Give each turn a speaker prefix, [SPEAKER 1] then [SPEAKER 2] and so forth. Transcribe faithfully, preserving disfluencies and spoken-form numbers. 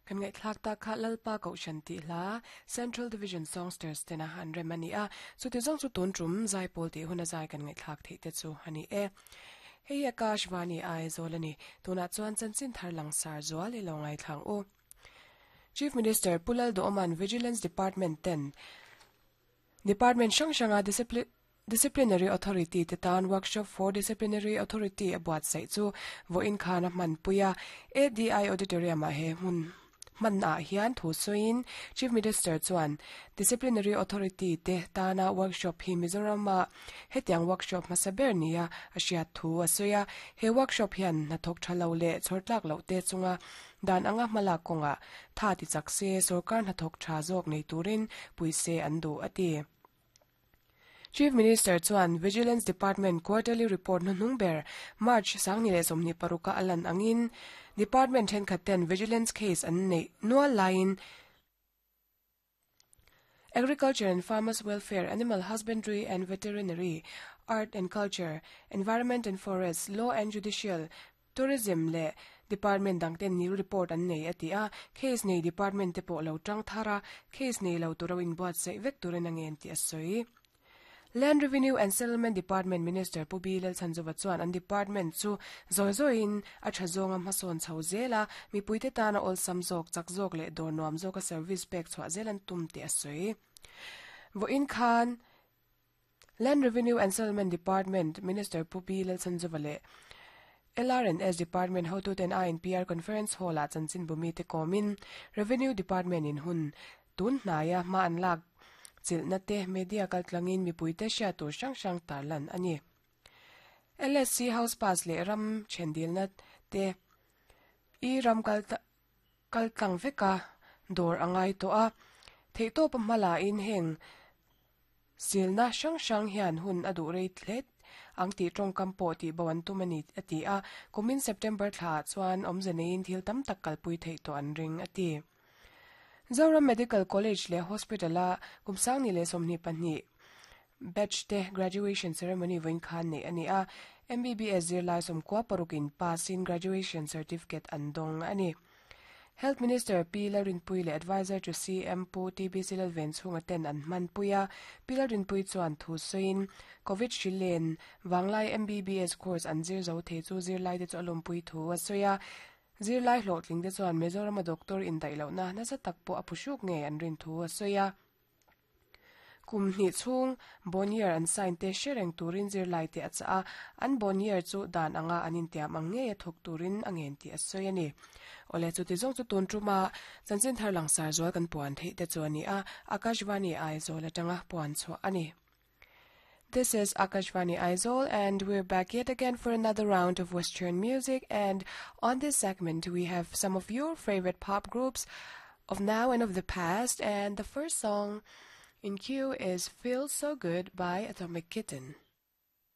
[SPEAKER 1] Kan ngaihthlak tak kha Lalpa Kohhran tih hla Central Division Songsters tena an rem ani a chuti zawng chu tun tum zaipawl tih hun a zai kan ngaihthlak theih te chu ani e. Hei Akashvani Aizawl ani tunah chuan chanchin thar langsar zual i lo ngaithlang u. Chief Minister Pu Lalduhoma'n Vigilance Department ten Department hrang hranga discipline Disciplinary Authority te tan Workshop for Disciplinary Authority a buatsaih chu vawiin khan a hmanpui a. ADI Auditorium ah he hmun hman ah hian thu sawiin Chief Minister chuan Disciplinary Authority te tana workshop hi Mizoram ah hetiang workshop hmasa ber nia a hriat thu a sawi a. He workshop hian hnathawk tha lo leh chhawrtlak loh te chunga dan anga hmalak kawngah tha ti chak se sorkar hnathawk tha zawk nei turin puise an duh a ti. Chief Minister chuan Vigilance Department Quarterly Report hnuhnung ber March sangni leh sawmhnih paruka a lan angin Department thenkhat ten Vigilance case an neih nual laiin Agriculture and Farmers Welfare, Animal Husbandry and Veterinary, Art and Culture, Environment and Forests, Law and Judicial, Tourism leh Department dang ten nil report an nei a ti a case nei department te pawh lo tang thara case nei lo turo in buatsaih vek turin a ngen tih a sawi. Land Revenue and Settlement Department Minister Pu B Lalchhanzova chuan an department chu zawi zawiin a tha zawnga hmasawn chho zel a mipuite tana awlsam zawk chak zawk leh dawr nuam zawka service pek chhuah zel an tum tih a sawi. Vawiin khan Land Revenue and Settlement Department Minister Pu B Lalchhanzova leh LRNS Department hotuten INPR Conference Hall ah chanchin bumi te kawmin Revenue Department in hun tun hnaiah hma an lak chilhna te media kaltlangin mipuite hriat tur hrang hrang tarlan ani. LSC House Pass leh ram thendilna te i ram kal kaltlang veka dawr angai tawh a theihtawp a hmala in heng silna hrang hrang hian hun a duh rei hlet ang tih tawngkam pawh tih bo an tum ani a ti a kumin September thla chuan awmze neiin thil tam tak kalpui theih tawh an ring a ti. Zoram Medical College leh Hospital a kumsangni leh sawmhnih pahnih batch te graduation ceremony vawiin khan nei ani a MBBS zirlai sawmkua parukin pass in graduation certificate an dawng ani. Health Minister P Lalrinpui leh Advisor to CM Pu TBC Lalven chhunga ten an hmanpui a P Lalrinpui chuan thu sawiin Covid hri wanglai MBBS course an zir zo thei chu zirlai te chu a lawmpui thu a sawi a zirlai hlawhtling te chuan Mizoram a doctor in daih lohna nasa tak pawh a phuhruk nge an rin thu a sawi a kum hnih chhung bonier an sign te hre turin zirlai te a cha a an bonier chu dan anga an intiam ang nge a thawk turin a ngen tih a sawi ani. Ole chu ti zawng chu tun tuma chanchin thar langsar zual kan puan theih te chu ani a Akashvani Aizawl atanga puan chhuah ani. This is Akashvani Aizawl and we're back yet again for another round of Western music and on this segment we have some of your favorite pop groups of now and of the past and the first song in queue is Feels So Good by Atomic Kitten.